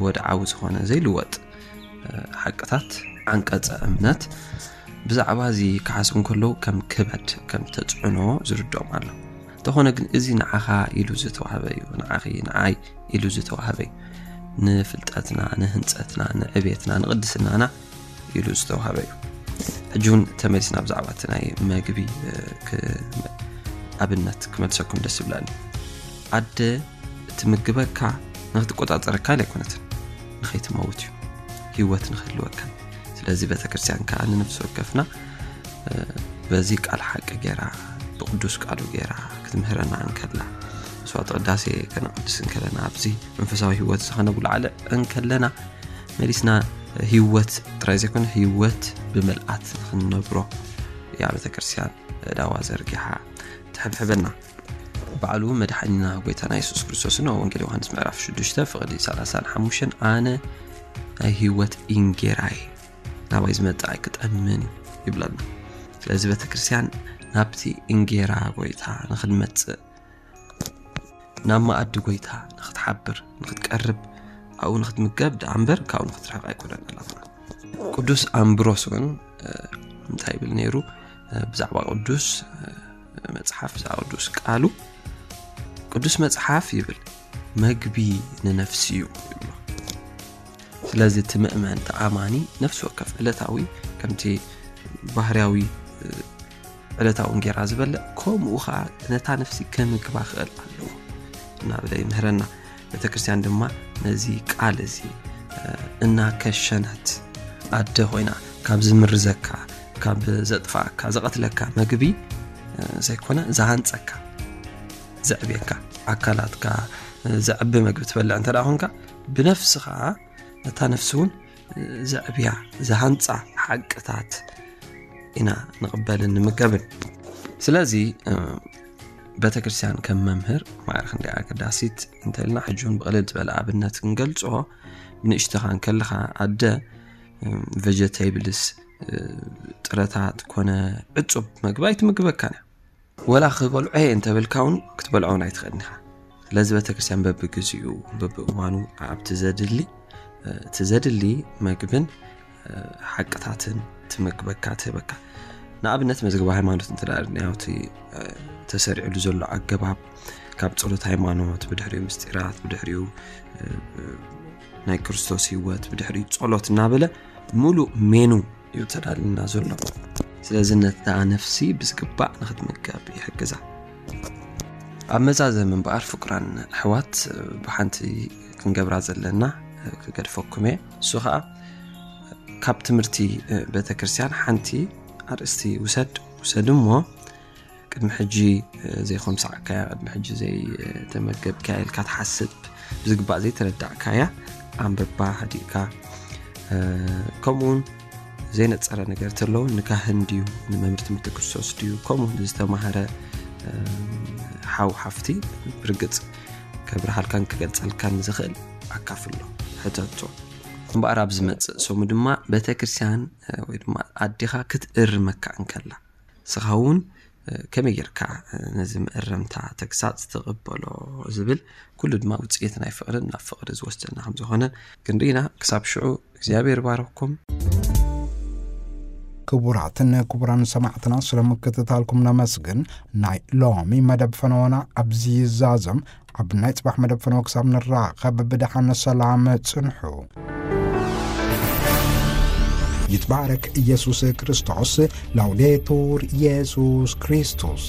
ወድዓዊ ዝኾነ ዘይልወጥ ሓቅታት፣ ዓንቀጸ እምነት፣ ብዛዕባ እዚ ክሓስቡ እንከለዉ ከም ክበድ፣ ከም ተጽዕኖ ዝርድኦም ኣሎ። እንተኾነ ግን እዚ ንዓኻ ኢሉ ዝተዋህበ እዩ፣ ንዓኺ፣ ንዓይ ኢሉ ዝተዋህበ እዩ። ንፍልጠትና፣ ንህንጸትና፣ ንዕቤትና፣ ንቕድስናና ኢሉ ዝተዋህበ እዩ። ሕጂ እውን ተመሊስና ብዛዕባ እቲ ናይ መግቢ ኣብነት ክመልሰኩም ደስ ይብለኒ። ኣደ እትምግበካ ንክትቆጻጸረካ ኢላ ኣይኮነትን፣ ንኸይትመውት እዩ፣ ህይወት ንክህልወካ። ስለዚ ቤተክርስትያን ከዓ ንነፍሲ ወከፍና በዚ ቃል ሓቂ ገይራ፣ ብቅዱስ ቃሉ ገይራ ክትምህረና እንከላ፣ መስዋዕተ ቅዳሴ ከነቅድስ እንከለና፣ ኣብዚ መንፈሳዊ ህይወት እዚ ከነጉልዓለ እንከለና፣ መሊስና ህይወት ጥራይ ዘይኮነ ህይወት ብምልኣት ንክንነብሮ እያ ቤተክርስትያን እዳዋ ዘርጊሓ ትሕብሕበና። ባዕሉ መድሓኒና ጎይታና የሱስ ክርስቶስን ኣብ ወንጌል ዮሃንስ ምዕራፍ ሽዱሽተ ፍቕዲ ሰላሳን ሓሙሽተን ኣነ ናይ ህይወት እንጌራ እየ፣ ናባይ ዝመጽእ ኣይክጠምን እዩ ይብለና። ስለዚ ቤተክርስትያን ናብቲ እንጌራ ጎይታ ንክንመጽእ፣ ናብ መኣዲ ጎይታ ንክትሓብር፣ ንክትቀርብ፣ ኣብኡ ንክትምገብ ደኣ እምበር ካብኡ ንክትርሕቕ ኣይኮነን ዕላማና። ቅዱስ ኣምብሮስ እውን እንታይ ይብል ነይሩ? ብዛዕባ ቅዱስ መጽሓፍ፣ ብዛዕባ ቅዱስ ቃሉ፣ ቅዱስ መጽሓፍ ይብል፣ መግቢ ንነፍሲ እዩ ይብሎ። ስለዚ እቲ ምእመን፣ እቲ ኣማኒ ነፍሲ ወከፍ ዕለታዊ ከምቲ ባህርያዊ ዕለታዊ እንጌራ ዝበልዕ፣ ከምኡ ኸዓ ነታ ነፍሲ ከምግባ ክእል ኣለዎ እናበለ ይምህረና። ቤተክርስትያን ድማ ነዚ ቃል እዚ እናከሸነት፣ ኣደ ኮይና ካብ ዝምርዘካ፣ ካብ ዘጥፋእካ፣ ዘቐትለካ መግቢ ዘይኮነ፣ ዝሃንጸካ፣ ዘዕብየካ፣ ኣካላትካ ዘዕቢ መግቢ ትበልዕ እንተ ደኣ ኮንካ፣ ብነፍስኻ ነታ ነፍሲ እውን ዘዕብያ፣ ዝሃንጻ ሓቅታት ኢና ንቕበልን ንምገብን። ስለዚ ቤተክርስትያን ከም መምህር ማዕረ ክንደይ ኣገዳሲት እንተልና፣ ሕጂ እውን ብቕልል ዝበለ ኣብነት ክንገልጾ፣ ንእሽተኻ እንከለኻ ኣደ ቨጀቴብልስ፣ ጥረታት ኮነ ዕጹብ መግቢ ኣይትምግበካን እያ። ወላ ክበልዖ እየ እንተበልካ እውን ክትበልዖ እውን ኣይትኽእልን ኢኻ። ስለዚ ቤተክርስትያን በብግዚኡ በብእዋኑ ኣብቲ ዘድሊ እቲ ዘድሊ መግብን ሓቅታትን ትመግበካ፣ ትህበካ። ንኣብነት መዝገበ ሃይማኖት እንተ ደኣ ርኢናዮ፣ እቲ ተሰሪዕሉ ዘሎ ኣገባብ፣ ካብ ጸሎት ሃይማኖት፣ ብድሕሪኡ ምስጢራት፣ ብድሕሪኡ ናይ ክርስቶስ ህይወት፣ ብድሕሪኡ ጸሎት እናበለ ምሉእ ሜኑ እዩ ተዳልልና ዘሎ። ስለዚ ነታ ነፍሲ ብዝግባእ ንኽትምገብ ይሕግዛ። ኣብ መዛዘሚ እምበኣር ፍቁራን ኣሕዋት፣ ብሓንቲ ክንገብራ ዘለና ክገድፈኩም እየ። እሱ ኸኣ ካብ ትምህርቲ ቤተ ክርስቲያን ሓንቲ ኣርእስቲ ውሰድ፣ ውሰድ እሞ ቅድሚ ሕጂ ዘይኮምሳዕካያ፣ ቅድሚ ሕጂ ዘይተመገብካያ ኢልካ ትሓስብ፣ ብዝግባእ ዘይተረዳእካያ ኣንብባ ሃዲእካ፣ ከምኡውን ዘይነጸረ ነገር ተሎ ንካህን ድዩ ንመምህር ትምህርቲ ክርስቶስ ድዩ ከምኡ ዝተማህረ ሓው ሓፍቲ ብርግጽ ከብርሃልካን ክገልጸልካን ዝኽእል ኣካፍሎ፣ ሕተቶ። እምበኣር ኣብ ዝመጽእ ሰሙ ድማ ቤተ ክርስቲያን ወይ ድማ ኣዴኻ ክትእርመካ እንከላ፣ ንስኻ እውን ከመይ ጌርካ ነዚ መእረምታ ተግሳጽ ትቕበሎ ዝብል ኩሉ ድማ ውጽኢት ናይ ፍቕርን ናብ ፍቕሪ ዝወስደና ከም ዝኾነ ክንርኢና። ክሳብ ሽዑ እግዚኣብሔር ይባርኽኩም። ክቡራትን ክቡራን ሰማዕትና፣ ስለ ምክትታልኩም ነመስግን። ናይ ሎሚ መደብ ፈነወና ኣብዚ ይዛዘም። ኣብ ናይ ጽባሕ መደብ ፈነወ ክሳብ ንራኸብ ብደሓን ሰላም ጽንሑ። ይትባረክ ኢየሱስ ክርስቶስ። ላውዴቱር ኢየሱስ ክርስቶስ።